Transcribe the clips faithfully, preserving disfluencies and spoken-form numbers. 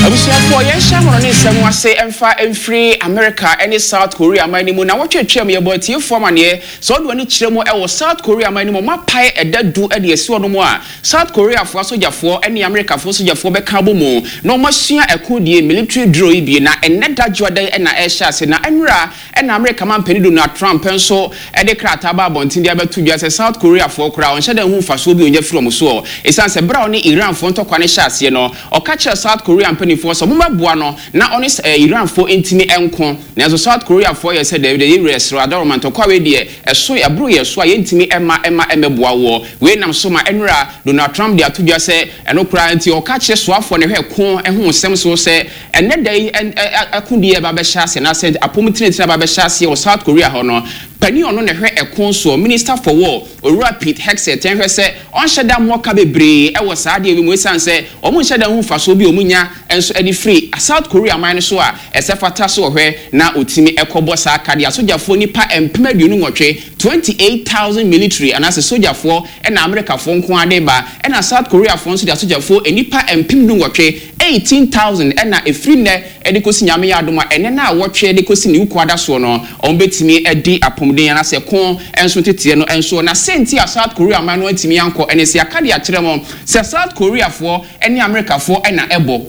Abusuafoɔ, yɛnhyɛ ahono ne nsɛm ase mfa mfiri America ne South Korea aman no mu. Na wɔtwetwe mu, yɛbɔ atiefoɔ amanneɛ sɛ ɔde w'ani kyerɛ mu ɛwɔ South Korea aman no mu, ɔmapae ɛda du de asi hɔ no mu a South Koreafoɔ asogyafoɔ ne Amerikafoɔ sogyafoɔ bɛka abɔ mu na ɔmasua ɛko die, military drill yi bi. Na ɛnnɛ da dwoada ɛna ɛhyɛ ase. Na ɛnora ɛna Amerika mampanin Donald Trump nso ɛde krataa ba abɔnten de abɛto dwa sɛ South Koreafoɔ koraa, ɔnhyɛ dɛ ho mfasoɔ bi ɔnya firi ɔmo soɔ, ɛsiane sɛ berɛ a ɔne Iranfoɔ ntɔkwa no hyɛ aseɛ no, ɔka kyerɛ South Korea mpanimfoɔ sɛ ɔmobɛboa no na ɔne Iranfoɔ ntumi nko. Nanso South Koreafoɔ yɛ sɛ dɛbi dɛ, yɛwura ɛsoro adaroma, ntɔkwa wei deɛ ɛso ɛboro yɛ so a yɛntumi ɛma ɛma ɛmɛboa woɔ. Wei nam so ma ɛnora Donald Trump de ato dwa sɛ ɛno koraa nti ɔka kyerɛ soafoɔ ne hwɛ ko ɛho nsɛm so sɛ ɛnɛ da yi ɛko deɛ ɛba bɛhyɛ ase anaasɛ apɔm tenetene ba bɛhyɛ aseɛ wɔ South Korea hɔ no, panin ɔno na ɛhwɛ ɛko soɔ, Minister for War, Owura Pete Hegseth, hwɛ sɛ ɔnhyɛ da mmɔka bebree ɛwɔ saa adeɛ bi mu, esiane sɛ ɔmo nhyɛ da ho mfasoɔ bi a ɔmo nya nso ɛde firi South Korea man no so a ɛsɛ fata so ɔhwɛ na otimi ɛkɔbɔ saa kadeɛ. Asogyafoɔ nipa mpem aduonu nwɔtwe, twenty eight thousand military anaasɛ sogyafoɔ, ɛna Amerikafoɔ nko ade ba, ɛna South Koreafoɔ nso de asogyafoɔ nipa mpem du nwɔtwe, eighteen thousand, ɛna efiri nnɛ ɛde kɔsi, Nyame yɛ adom a, ɛnɛ na awɔtwe de kɔsi ne wuku ada soɔ no, wɔn bɛtumi adi apɔmuden anaasɛ ko nso teteɛ no nso. Na sɛnti a South Korea man no antumi ankɔ ɛne sɛ aka de akyerɛ mo sɛ South Koreafoɔ ɛne Amerikafoɔ ɛna ɛbɔ,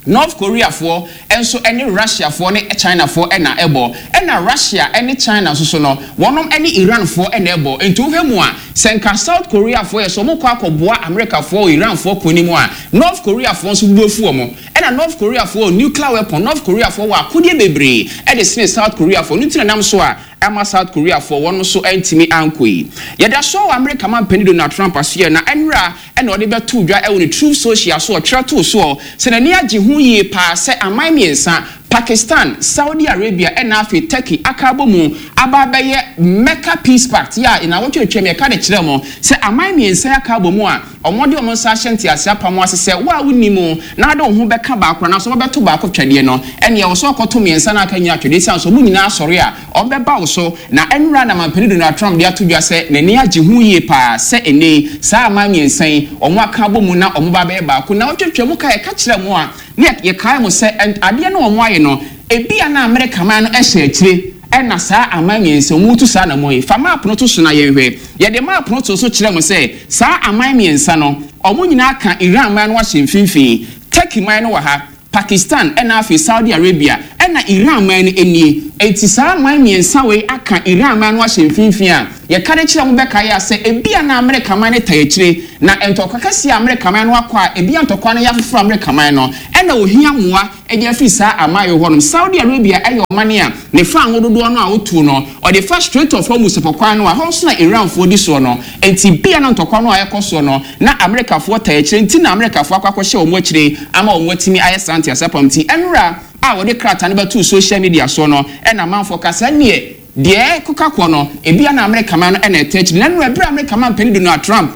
North Koreafoɔ nso ne Russiafoɔ ne Chinafoɔ ɛna ɛbɔ, ɛna Russia ne China nso so no, wɔnom ne Iranfoɔ ɛna ɛbɔ. Nti wohwɛ mu a, sɛ nka South Koreafoɔ yɛ sɛ wɔn kɔ akɔboa Amerikafoɔ wɔ Iranfoɔ ko mu a, North Koreafoɔ nso bu afu wɔn. Ɛna North Koreafoɔ wɔ nuclear weapon, North Koreafoɔ wɔ akodeɛ bebree ɛde sene South Koreafoɔ no, ntina nam so a ama South Koreafoɔ wɔn nso ntumi ankɔ yi. Yɛda so wɔ Amerika mampanin Donald Trump asoɛ. Na ɛnora ɛna ɔde bɛto dwa ɛwɔ ne Truth Social so, ɔtwerɛ too soɔ sɛ n'ani agye ho yie paa sɛ aman mmiɛnsa, Pakistan, Saudi Arabia ɛna afei Turkey, aka abɔ mu aba abɛyɛ Mecca Peace Pact yɛ a na wɔtwetwe mu. Yɛka de kyerɛ mo sɛ aman mmiɛnsa aka abɔ mu a ɔmɔde ɔmo nsa ahyɛ ntease apam ase sɛ wo a wonni mu na ade wo ho bɛka baako anaasɛ wɔbɛto baako twɛdeɛ no, ɛnea wɔ sɛ ɔkɔto mmiɛnsa no aka nyina twɛdeɛ, siane sɛ ɔmo nyinaa asɔre a ɔmbɛba wo so. Na ɛnora na mampanin Donald Trump de ato dwa sɛ n'ani agye ho yie paa sɛ ɛnɛ saa aman mmiɛnsa yi ɔmo aka abɔ mu na ɔmo ba bɛyɛ baako. Na wɔtwetwe mu ka, yɛka kyerɛ mo a ne yɛkae mo sɛ adeɛ no ɔmo ayɛ no, ebi a na Amerika man no ɛhyɛ akyire ɛna saa aman mmiɛnsa wɔn tu saa anamɔ yi. Fa map no to so na yɛnhwɛ. Yɛde map no to so kyerɛ mo sɛ saa aman mmiɛnsa no, wɔn nyinaa ka Iran man no ahyɛ mfimfini. Turkey man no wɔ ha, Pakistan ɛna afei Saudi Arabia, ɛna Iran man no nie. Eti saa aman mmiɛnsa wei aka Iran man no ahyɛ mfimfini a yɛka de kyerɛ mo bɛka yɛ sɛ ebi a na Amerika man no ta akyire na ntɔkwa kɛseɛ a Amerika man no akɔ a, ebi a ntɔkwa no yɛ afoforɔ Amerika man no ɛna ohia mmoa ɛde afiri saa aman yi hɔnom. Saudi Arabia ɛyɛ ɔman a ne fa ahododoɔ no a otuo no ɔde fa Strait of Hormuz kwan no a hɔ nso na Iranfoɔ di soɔ no. Nti bia na ntɔkwa no a ɛkɔ soɔ no na Amerikafoɔ ta akyire, nti na Amerikafoɔ akɔ akɔhyɛ wɔn akyire ama wɔn atumi ayɛ saa ntease apam. Nti ɛnora a wɔde krataa no bɛto social media soɔ no, ɛna amanfoɔ kasa neɛ deɛ ɛkeka kɔ no, ebia na Amerika man no ɛna ɛtɛ akyire. Na ɛnora ebere Amerika man panin Donald Trump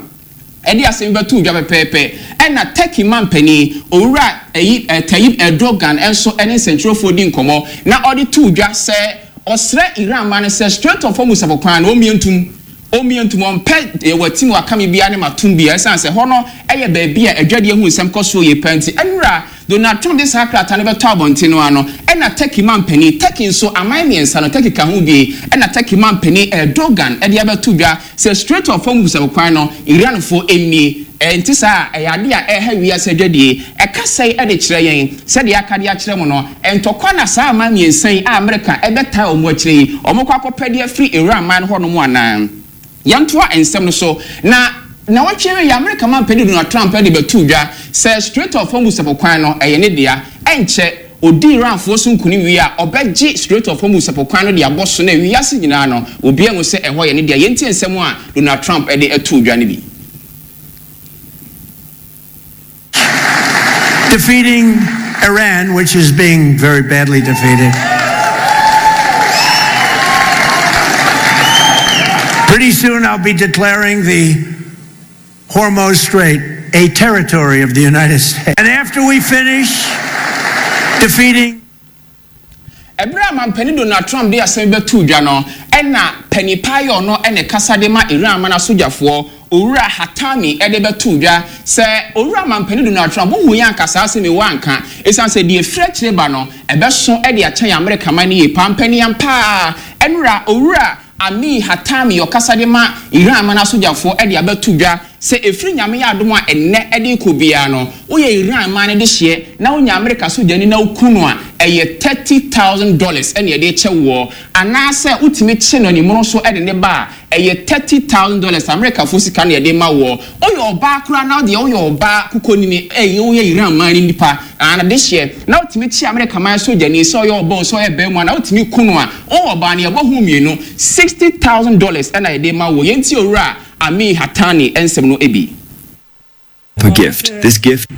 ɛde asɛm bɛto dwa pɛpɛɛpɛ, ɛna Turkey man panin, Owura ɛyi ɛ Tayyip Erdogan nso ɛne nsɛntwerɛfoɔ di nkɔmɔ na ɔde to dwa sɛ ɔsrɛ Iran man no sɛ Strait of Hormuz kwan no ɔmmie ntum, ɔmmie ntum, ɔmpɛ wɔ tim wakame biara ne matum biara, ɛsiane sɛ hɔ no ɛyɛ baabi a adwadeɛ ho nsɛm kɔ soɔ yie pɛ. Nti ɛnora Donald Trump de saa krataa no bɛtɔ abɔnten no ano, ɛna Turkey man panin, Turkey nso aman mmiɛnsa no Turkey ka ho bie, ɛna Turkey man panin Erdogan ɛde abɛto dwa sɛ Strait of Hormuz kwan no, Iranfoɔ mmie. Ɛnti saa ɛyɛ ade a ɛha wiase adwadie. Ɛka sɛe ɛde kyerɛ yɛn sɛdeɛ aka de akyerɛ mu no, ntɔkwa na saa aman mmiɛnsa yi a Amerika ɛbɛtaa wɔn akyire yi, wɔn kɔ akɔpɛ de afiri Iran man hɔnom anaa. Yɛntoa nsɛm no so. Na na wɔtwe yɛ Amerika man panin Donald Trump de bɛto dwa sɛ Strait of Hormuz kwan no ɛyɛ ne dea. Ɛnkyɛ odi Iranfoɔ so nkunim wie a, ɔbɛgye Strait of Hormuz kwan no de abɔ so na wiase nyinaa no obiara hu sɛ ɛhɔ yɛ ne dea. Yɛntie nsɛm a Donald Trump de ato dwa no bi. Defeating Iran, which is being very badly defeated. Pretty soon I'll be declaring the Hormuz Strait a territory of the United States. And after we finish defeating Ɛberɛ a mampanin Donald Trump de asɛm bɛto dwa no, ɛna panipa yɛ ɔno ɛna kasa de ma Iran mana sogyafoɔ. Owura Hatami ɛde bɛto dwa sɛ owura mampanin Donald Trump wohu yɛ anka saa asɛm yi wanka, ɛsiane sɛ deɛ efiri akyire ba no ɛbɛso ɛde akyɛn Amerika man no yie paa. Mpanin paa, ɛnura Owura Amir Hatami ɔkasa de ma Iran man asogyafoɔ ɛde abɛto dwa sɛ efiri Nyame yɛ adom a, ɛnnɛ ɛde kɔ biara no, woyɛ Iran man no de hyeɛ na wonya Amerika sogyani na woku no a, ɛyɛ thirty thousand dollars ɛna yɛde kyɛ woɔ, anaasɛ wotumi kye no animono so ɛde ne ba a, ɛyɛ thirty thousand dollars Amerikafoɔ sika na yɛde ma woɔ. Woyɛ ɔbaa koraa na deɛ woyɛ ɔbaa kukonini, ɛyɛ woyɛ Iran man no nipa ana de hyeɛ na wotumi kye Amerika man sogyani, sɛ ɔyɛ ɔbaa, sɛ ɔyɛ bɛrima, na wotumi ku no a, ɔwɔ ɔbaa no yɛbɔ ho mmienu, sixty thousand dollars ɛna yɛde ma woɔ. Yɛn ti Owura Amir Hatani nsɛm no ebi. A gift. This gift.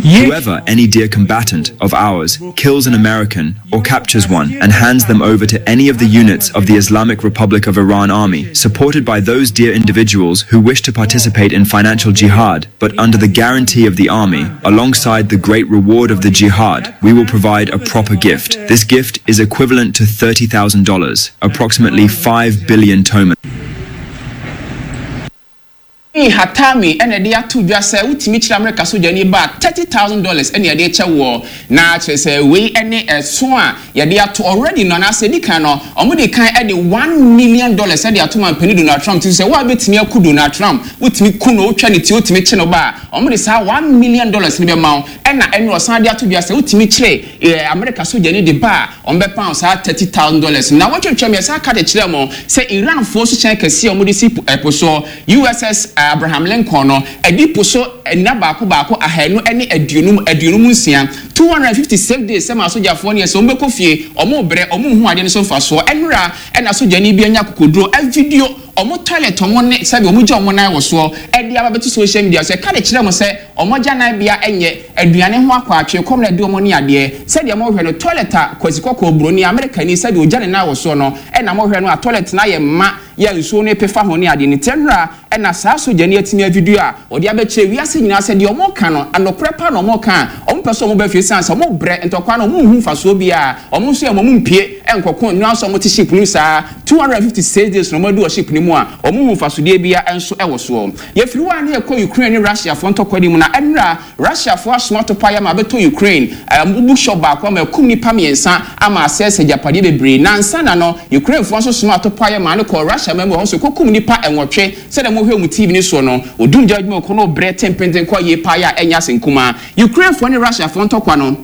Whoever, any dear combatant of ours, kills an American or captures one and hands them over to any of the units of the Islamic Republic of Iran Army, supported by those dear individuals who wish to participate in financial jihad, but under the guarantee of the army, alongside the great reward of the jihad, we will provide a proper gift. This gift is equivalent to thirty thousand dollars, approximately five billion toman. Hatami ɛna ɛde ato dwa sɛ wotumi kyerɛ Amerika sogyani ba thirty thousand dollars ɛna yɛde kyɛ wɔ, na kyerɛ sɛ wei ɛne ɛso a yɛde ato already no, anaasɛ edi kan no, wɔn de kan ɛde one million dollars ɛde ato mampanin Donald Trump ti sɛ wɔn a bɛtumi aku Donald Trump, wotumi ku no, wotwa ne ti, wotumi kye no ba a, wɔn de saa one million dollars ne bɛma wo. Ɛna ɛne ɔsan de ato dwa sɛ wotumi kyerɛ ɛɛ Amerika sogyani de ba a, wɔn bɛpa saa thirty thousand dollars. Na wɔtwitwa mi ɛsan ka de kyerɛ mo sɛ Iranfoɔ so kyɛn kɛseɛ a wɔde si ɛpo soɔ, U S S Abraham Lincoln no, ɛdi po so nna baako baako ahanu ne aduonum aduonum nsia, two hundred and fifty six days, sɛ ma asogyafoɔ no yɛ sɛ wɔn bɛkɔ fie, wɔn brɛ, wɔn nhu adeɛ no so mfasoɔ. Ɛnura ɛna sogyani bi anya akokoduro ɛvideo ɔmo toilet, ɔmo ne sɛbi ɔmo gya ɔmo nan wɔ soɔ, ɛde aba bɛto social media so, ɛka de kyerɛ mo sɛ ɔmo gya nan bea ɛnyɛ aduane ho akɔ atwe kɔm na ɛde ɔmo ne adeɛ. Sɛdeɛ mo hwɛ no, toilet a Kwasi Kɔkɔɔ buroni Amerikani sɛdeɛ ogya ne nan wɔ soɔ no, ɛna mo hwɛ no a, toilet na yɛ mma yɛ nsuo no pefa ho ne adeɛ ne tɛnura. Ɛna saa sogyani atumi avideo a ɔde abɛkyerɛ wiase nyinaa sɛ deɛ ɔmo ka no anokorɛ pa na ɔmo ka a, ɔmo pɛ sɛ ɔmo bɛ fie san sɛ ɔmo brɛ ntɔkwa no, ɔmo nhu mfasoɔ biara. Ɔmo nso yɛ ɔmo mpie ɛnkɔko nnua nso ɔmo te ship no saa two hundred and fifty six days na ɔmo adu wɔ ship no mu a, ɔmo hu mfasodeɛ biara nso ɛwɔ soɔ. Yɛfiri hɔ a ne yɛkɔ Ukraine ne Russiafoɔ ntɔkwa no mu. Na ɛnura Russiafoɔ asoma topa yɛ ama abɛtɔ Ukraine ɛɛ bookshop baako ama ɛkum nipa mmiɛnsa ama asɛesɛ agyapadeɛ bebree. Nansa na no Ukrainefoɔ nso soma atopa yɛ maa no kɔ Russia mɛmu hɔ nso kɔkum nipa ɛnwɔtwe. Sɛdeɛ mohwɛ mu T V ne soɔ no, odum gya adwuma kɔ no brɛ tempenten kɔ yie paa yɛ a ɛnyɛ ase nkumaa. Ukrainefoɔ ne Russiafoɔ ntɔkwa no,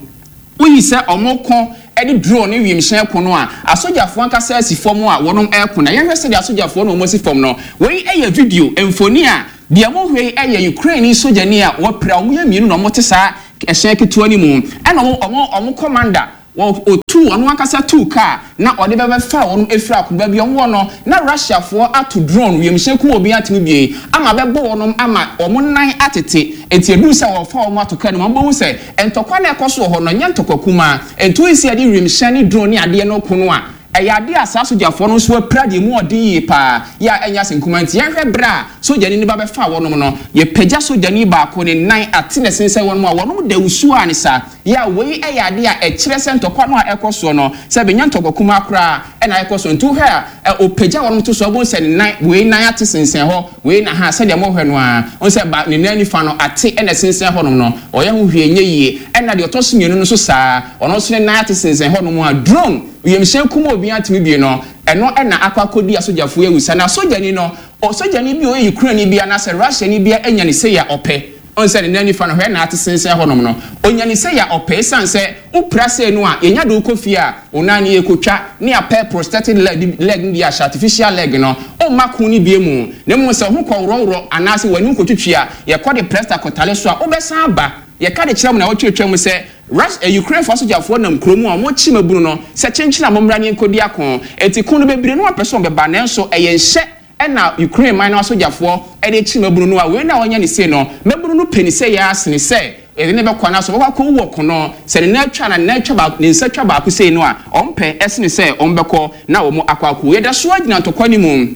woyi sɛ ɔmo kɔ ɛde drone ne wiemhyɛn ko no a, asogyafoɔ ankasa asi fam a wɔnom ɛko. Na yɛhwɛ sɛdeɛ asogyafoɔ no wɔn asi fam no, wei ɛyɛ video mfoni a deɛ mohwɛ yi ɛyɛ Ukraine sogyani a wɔpira. Wɔn yɛ mmienu na wɔte saa ɛhyɛn ketewa no mu, ɛna wɔn wɔn wɔn commander wɔ otu ɔno ankasa tu kaa na ɔde bɛbɛfa wɔn efiri akoba bi wɔn wɔ no, na Russiafoɔ ato drone wiemhyɛn kum obi atumi bie ama bɛbɔ wɔn ama wɔn nan atete. Eti edu sɛ wɔfa wɔn ato kaa no mu, wɔn bɛhu sɛ ntɔkwa na ɛkɔ so wɔ hɔ no nyɛ ntɔkwa kumaa. Ntu esi yɛde wiemhyɛn ne drone ne adeɛ no ko no a, ɛyɛ adeɛ a saa sogyafoɔ no nso apira deɛ mu ɔden yie paa yɛ a ɛnyɛ ase nkuma. Nti yɛhwɛ berɛ a sogyani no ba bɛfa wɔnom no, yɛpagya sogyani baako ne nan ate ne sensɛn wɔnom a wɔnom da wusuo a ne sa yɛ a, wei ɛyɛ adeɛ a ɛkyerɛ sɛ ntɔkwa no a ɛkɔ soɔ no sɛ bɛnya ntɔkwa kumaa koraa ɛna ɛkɔ so. Nti wohwɛ a, ɔpagya wɔnom to so, ɔbɛhu sɛ ne nan wei nan ate sensɛn hɔ wei na ha. Sɛdeɛ mohwɛ no a, ɔhu sɛ ba ne nan nifa no ate ɛna sensɛn hɔnom no, ɔyɛ ho hwee nyɛ yie. Ɛna deɛ ɔtɔ so mmienu no nso saa, ɔno nso ne nan ate sensɛn hɔnom a drone wiemhyɛn kum obi atumi bie no, ɛno ɛna akɔ akɔdi asogyafoɔ awusa. Na sogyani no, ɔsogyani bi a ɔyɛ Ukraine bi anaasɛ Russiani bi anya ne sɛ yɛ ɔpɛ, ɔn sɛ ne nan nifa no hwɛ na ate sensɛn hɔnom no, onya ne sɛ yɛ ɔpɛ, esan sɛ wopira sɛ no a yɛnya de wokɔ fie a, onan ne yɛkɔtwa ne apɛ prosthetic leg leg no de ahyɛ artificial leg no, ɔmma ko no bie mu. Na mmom sɛ ho kɔ worɔworɔ anaasɛ w'ani kɔtwitwi a, yɛkɔ de plaster kɔtale so a, wobɛsan aba. Yɛka de kyerɛ mu na wɔtwetwe mu sɛ Rus eh, Ukraine fo asogyafoɔ nam kurom a wɔkyi mabunu no sɛ kyenkyen a mommra ne nkɔdi ako. Eti ko no bebree no wɔpɛ sɛ wɔbɛba, nanso ɛyɛ nhyɛ ɛna Ukraine man no asogyafoɔ ɛde kyi mabunu no a wei na wɔnyɛ ne se no, mabunu no pɛ ne sɛ yɛ asene sɛ yɛde ne bɛkɔ anaasɛ wɔbɛkɔ akɔwu wɔ kono sɛ ne nan atwa na ne nan atwa baako, ne nsa twa baako sei no a, ɔmpɛ ɛsene sɛ ɔmbɛkɔ na wɔn akɔ akɔ. Yɛda so agyina ntɔkwa no mu.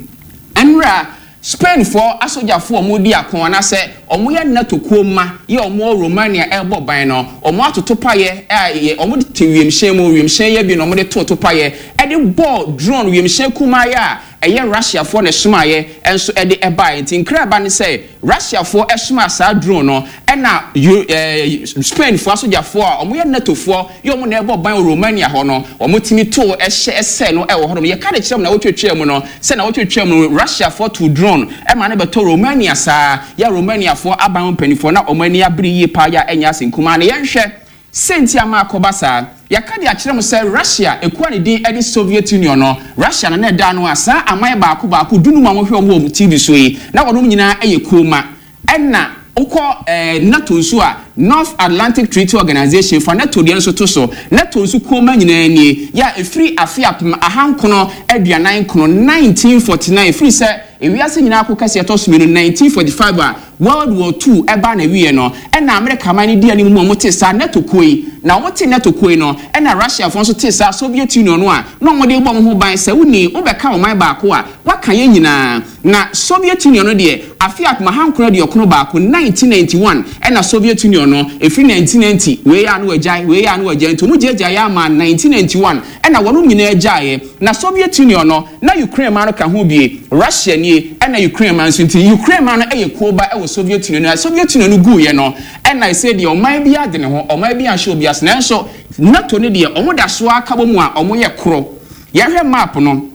Ɛnura Spainfoɔ asogyafoɔ a wɔredi ako anaasɛ Ɔmo yɛ NATO kuo ma yɛ ɔmo wɔ Romania ɛrebɔ ban no, ɔmo atoto payɛ a ɔmo te wiemhyɛn mu, wiemhyɛn yɛ bi na ɔmo de to to payɛ ɛde bɔɔ drone wiemhyɛn kumaa yɛ a ɛyɛ Russiafoɔ na ɛsomaeɛ nso ɛde ɛbaeɛ. Nti nkira ba ne sɛ Russiafoɔ ɛsoma saa drone no, ɛna ɛɛ Spainfoɔ asogyafoɔ a wɔyɛ NATOfoɔ yɛ wɔn na ɛbɔ ban wɔ Romania hɔ no, wɔn tumi to ɛhyɛ ɛsɛ no ɛwɔ hɔnom. Yɛka de kyerɛ mu na wɔtwitwa mu no sɛ na wɔtwitwa mu no, Russiafoɔ to drone ɛma ne bɛtɔ Romania saa yɛ Romaniafoɔ aban mpanimfoɔ na wɔn ani abere yie paa yɛ a ɛnyɛ ase nkumaa. Na yɛnhwɛ sɛnti ama akɔba saa. Yɛka de akyerɛ mu sɛ Russia ekuo a ne din de Soviet Union no, Russia na na ɛda no a saa aman baako baako dunum a wɔhwɛ wɔn wɔ T V so yi na wɔn nyinaa yɛ kuo ma. Ɛna wokɔ ɛɛ NATO nso a, North Atlantic Treaty Organization fa NATO deɛ nso to so, NATO nso kuo ma nyinaa nie yɛ a efiri afe apem ahankron aduanan nkron, nineteen forty nine, efiri sɛ ewiase nyinaa ko kɛseɛ ɛtɔ so mmienu, nineteen forty five a World War Two ɛba na wie no, ɛna Amerika man no di anim mu a wɔte saa NATO kuo yi. Na wɔte NATO kuo yi no, ɛna Russiafoɔ nso te saa Soviet Union no a na wɔde bɔ wɔn ho ban sɛ wuni wobɛka ɔman baako a waka yɛn nyinaa. Na Soviet Union no deɛ, afe apem ahankron aduɔkron baako, nineteen ninety one, ɛna Soviet Union no efiri nineteen ninety wei a no wagyae, wei a no wagyae, nti wɔn gyagya yɛ ama nineteen ninety one ɛna wɔn nyinaa gyaeɛ. Na Soviet Union no na Ukraine man no ka ho bie. Russia nie ɛna Ukraine man nso, nti Ukraine man no yɛ kuo ba ɛwɔ Soviet Union. Na Soviet Union no guiɛ no, ɛna ɛsɛ deɛ ɔman bi ade ne ho, ɔman bi ahyɛ obi ase, nanso NATO no deɛ, ɔmo da so aka bɔ mu a ɔmo yɛ korɔ. Yɛhwɛ map no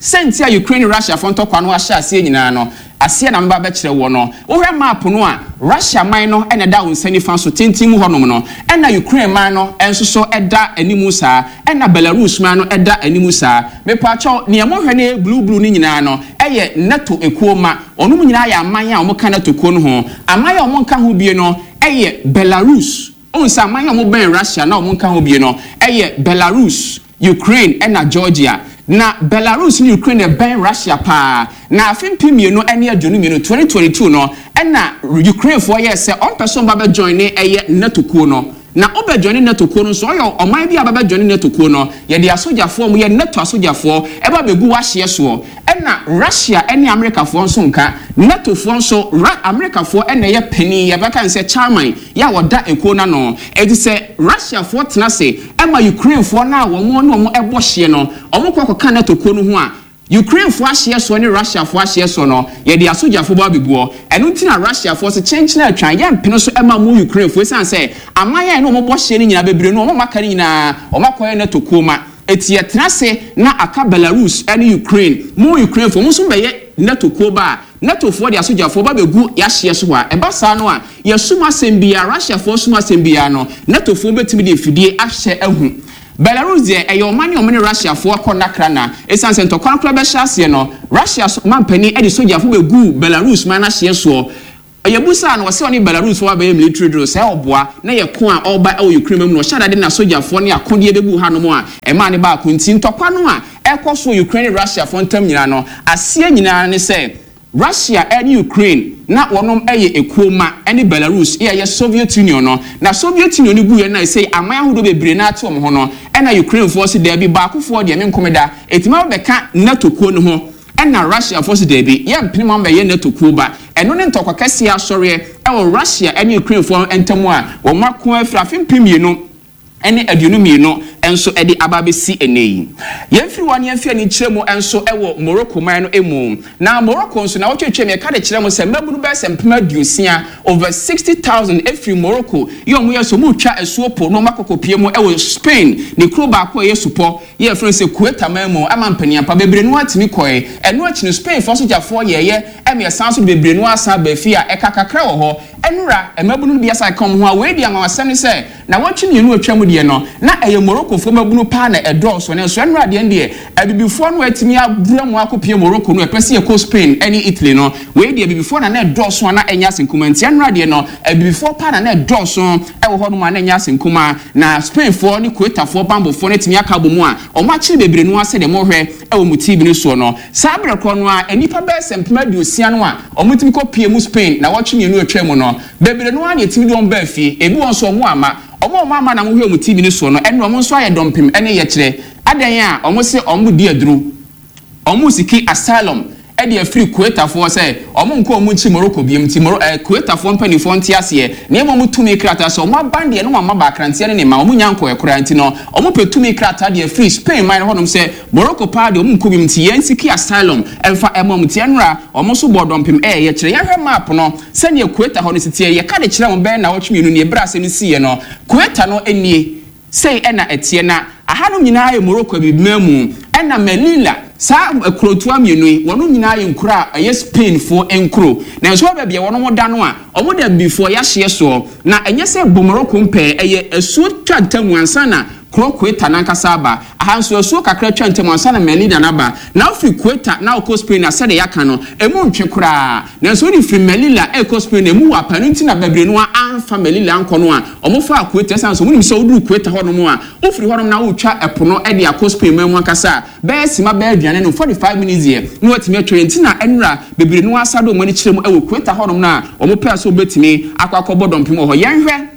sɛnti a Ukraine Russia fo ntɔkwa no ahyɛ aseɛ nyinaa no aseɛ na meba bɛkyerɛ wɔ no. Wohwɛ map no a, Russia man no ɛna ɛda wo nsa nifa so tenten mu hɔnom no, ɛna Ukraine man no nso so ɛda anim saa, ɛna Belarus man no ɛda anim saa. Mepaakyɛw, nea mohwɛ no blue blue no nyinaa no ɛyɛ NATO ekuo ma. Ɔnom nyinaa yɛ aman a wɔka NATO kuo no ho. Aman a wɔn nka ho bie no ɛyɛ Belarus. Ohun sɛ aman a wɔn bɛn Russia na wɔn nka ho bie no ɛyɛ Belarus, Ukraine ɛna Georgia. Na Belarus ne Ukraine ɛbɛn Russia paa. Na afe mpem mmienu ne aduonu mmienu, twenty twenty-two no, ɛna Ukrainefoɔ yɛ sɛ ɔmpɛ sɛ ɔmba bɛ join ne ɛyɛ NATO kuo no. Na ɔbɛ join NATO kuo no nso, ɔyɛ ɔman bi a bɛbɛ join NATO kuo no, yɛde asogyafoɔ mo yɛ NATO asogyafoɔ ɛba bɛgu wahyeɛ soɔ. Ɛna Russia ɛne Amerikafoɔ nso nka NATOfoɔ nso ra Amerikafoɔ ɛna ɛyɛ panin, yɛbɛka n sɛ chairman yɛ a wɔda ekuo n'ano. Eti sɛ Russiafoɔ tena se ɛma Ukrainefoɔ no a wɔn ne wɔn ɛbɔ hyeɛ no, wɔn kɔ akɔka NATO kuo no ho a, Ukrainefoɔ ahyeɛ soɔ ne Russiafoɔ ahyeɛ soɔ no, yɛde asogyafoɔ bɔ abɛguɔ. Ɛno nti na Russiafoɔ sɛ kyɛnkyɛn atwan yɛmpene so ɛma mu Ukrainefoɔ, esiane sɛ aman a ɛne wɔn bɔ hyeɛ no nyinaa bebree no, wɔn aka no nyinaa wɔn akɔyɛ NATO kuo ma. Eti yɛtena ase na aka Belarus ɛne Ukraine. Mo Ukrainefoɔ mo nso bɛyɛ NATO kuo ba a, NATOfoɔ de asogyafoɔ ba bɛgu yɛahyeɛ so hɔ a, ɛba saa no a, yɛsum asɛm biara, Russiafoɔ sum asɛm biara no, NATOfoɔ bɛtumi de afidie ahyɛ ahu. Belarus deɛ, ɛyɛ ɔman ne ɔmo ne Russiafoɔ kɔ nakra. Na ɛsiane sɛ ntɔkwa no koraa bɛhyɛ aseɛ no, Russia mampanin de sogyafoɔ bɛgu Belarus man no ahyeɛ soɔ. Yɛbusa no, wɔsɛ ɔne Belarus foɔ abɛyɛ military drill sɛ ɔboa na yɛ ko a ɔreba ɛwɔ Ukraine mu no, ɔhyɛ adade na sogyafoɔ ne akodeɛ bɛgu hanom a ɛmaa ne baako. Nti ntɔkwa no a ɛkɔ so Ukraine ne Russiafoɔ ntam nyinaa no, aseɛ nyinaa ne sɛ Russia ɛne Ukraine na wɔnom ɛyɛ ekuo ma ɛne Belarus yɛ ɛyɛ Soviet Union no. Na Soviet Union no gu yɛ na ɛsɛ aman ahodoɔ bebree na ate wɔn ho no, ɛna Ukrainefoɔ si daabi, baakofoɔ deɛ me nkɔmɛ da etima bɛka NATO kuo no ho. Ɛna Russiafoɔ si daabi, yɛ mpene mu bɛyɛ NATO kuo ba. Ɛno ne ntɔkwa kɛseɛ asɔreɛ ɛwɔ Russia ɛne Ukrainefoɔ ntam a wɔn ako afiri afe mpem mmienu ɛne aduonu mmienu nso ɛde aba abɛsi ɛnɛ yi. Yɛmfiri hɔ ne yɛmfi ani kyerɛ mu nso ɛwɔ Morocco man no mu. Na Morocco nso na wɔtwetwe mu, yɛka de kyerɛ mu sɛ mmabunu bɛyɛ sɛ mpem aduosia, over sixty thousand, efiri Morocco yɛ ɔmo yɛ so ɔmo twa asuo po na ɔmo akɔkɔpie mu ɛwɔ Spain ne kuro baako a ɛyɛ supɔ yɛ yɛfrɛ no sɛ Ceuta man mu, ama mpanyinpa bebree no atumi kɔɛ. Ɛno akyi no, Spain fo sogyafoɔ yɛyɛ ɛma yɛsan so de bebree no asan aba fie a ɛka kakra wɔ hɔ. Ɛnura mmabunu no bi asa ka wɔn ho a wei di anwanwasɛm ne sɛ na wɔtwe mmienu atwa mu deɛ no, na ɛyɛ Moroccofoɔ mmabunu paa na ɛdɔɔso ne nso. Ɛnura deɛ deɛ abibifoɔ no atumi abura mu akɔpie Morocco no, ɛpɛ sɛ yɛkɔ Spain ɛne Italy no, wei deɛ abibifoɔ na na ɛdɔɔso a na ɛnyɛ ase nkuma. Nti ɛnura deɛ no, abibifoɔ paa na na ɛdɔɔso ɛwɔ hɔnom a na ɛnyɛ ase nkuma. Na Spainfoɔ ne Ceuta-foɔ bambɔfoɔ no atumi aka abɔ mu a wɔn akyere bebree no asɛ deɛ mohwɛ ɛwɔ mu T V no soɔ no. Saa berɛ korɔ no a nnipa bɛyɛ sɛ mpem aduosia no a wɔn tumi kɔ pie mu Spain na wɔtwe mmienu atwa mu no, bebree no ara na yɛtumi de wɔn baa fie. Ebi wɔn nso wɔn ama wɔn a wɔn ama na mohwɛ mu T V no soɔ no, ɛno wɔn nso ayɛ dɔmpem ɛne yɛkyerɛ adan a wɔn sɛ wɔn di aduro, wɔn seek asylum. Ɛde afiri Kuwaitafoɔ sɛ ɔmo nkɔ ɔmo nkyi Morocco biem, nti Moro ɛɛ Kuwaitafoɔ mpanimfoɔ nte aseɛ nneɛma ɔmo tumi krataa sɛ ɔmo aban deɛ no wɔn ama baakranteɛ ne ne ma ɔmo nya nkɔɛ koraa, nti no ɔmo pɛ tumi krataa deɛ afiri Spain man hɔnom sɛ Morocco paa deɛ, ɔmo nkɔ biem, nti yɛn seek asylum ɛmfa ɛma ɔmo. Nti ɛnora ɔmo nso bɔ dɔmpem. Ɛyɛ kyerɛ yɛhwɛ map no sɛnea Ceuta hɔ no si teɛ. Yɛka de kyerɛ wɔn bɛyɛ na wɔtwe mmienu nie ebere ase no siiɛ no. Ceuta no nie, sei ɛna ɛteɛ, na ahanom nyinaa yɛ Morocco abibima mu, ɛna Melilla, saa kurotoa mmienu yi, wɔn nyinaa yɛ nkuro a ɛyɛ Spainfoɔ nkuro. Na nso baabi a wɔn da no a wɔn da bifoɔ yɛahyeɛ soɔ, na ɛnyɛ sɛ bɔ Morocco mpɛɛ, ɛyɛ asuo twa ntamu ansa na kuro Ceuta nankasa aba. Aha nso asuo kakra twa ntamu ansa na Melilla naba. Na ofiri Ceuta na okɔ Spain na sɛdeɛ yɛaka no, emu ntwe koraa. Nanso wode firi Melilla ɛkɔ Spain na emu wɔ apa no, nti na bebree no amfa Melilla nkɔ no a ɔmo fa Ceuta, ɛsan so ɔmo nim sɛ woduru Ceuta hɔnom a, wofiri hɔnom na wotwa ɛpo no ɛde akɔ Spain man mu ankasa a, bɛyɛ sima bɛyɛ aduane no forty five minutes yɛ na watumi atwa. Nti na ɛnura bebree no asa do ɔmo ani kyerɛ mu ɛwɔ Ceuta hɔnom no a ɔmo pɛɛ so wobɛtumi akɔ akɔbɔ dɔmpem wɔ hɔ. Yɛnhwɛ.